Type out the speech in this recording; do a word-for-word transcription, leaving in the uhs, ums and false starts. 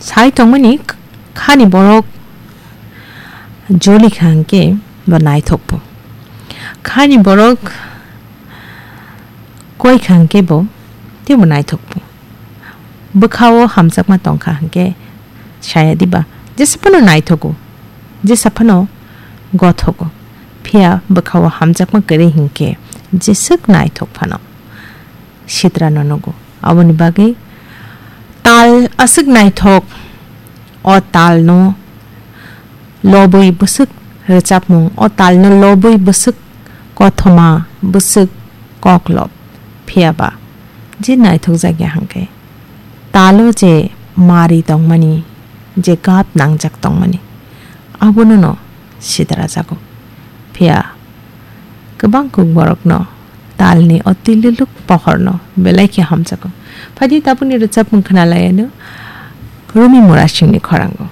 Sai tongmani khani borok joli kha hwnkhe bo naithok bo. Khani borok koi kha hwnkhe bo teibo naithok bo. Bwkhao hamjakma tong kha hwnkhe saya diba, jesa phano naithogo, jesa phano gothogo. Phiya bwkhao hamjakma kwrwi hwnkhe jeswk naithok phano sitrano nugo. Aboni bagwi tal aswk naithok, o talno lobwi bwswk rwchapmung, o talno lobwi bwswk kothoma, bwswk koklop. Phiya ba je naithok jakya hwnkhe talo je mari tongmani, je gap nangjak tongmani, abono no sidrajago. Phiya kwbang kuk borokno talni o tililuk pohorno belai khe hamjago. Phaidi tabukni rwchapmung khwnalaiano Rumi Murasingni khorango.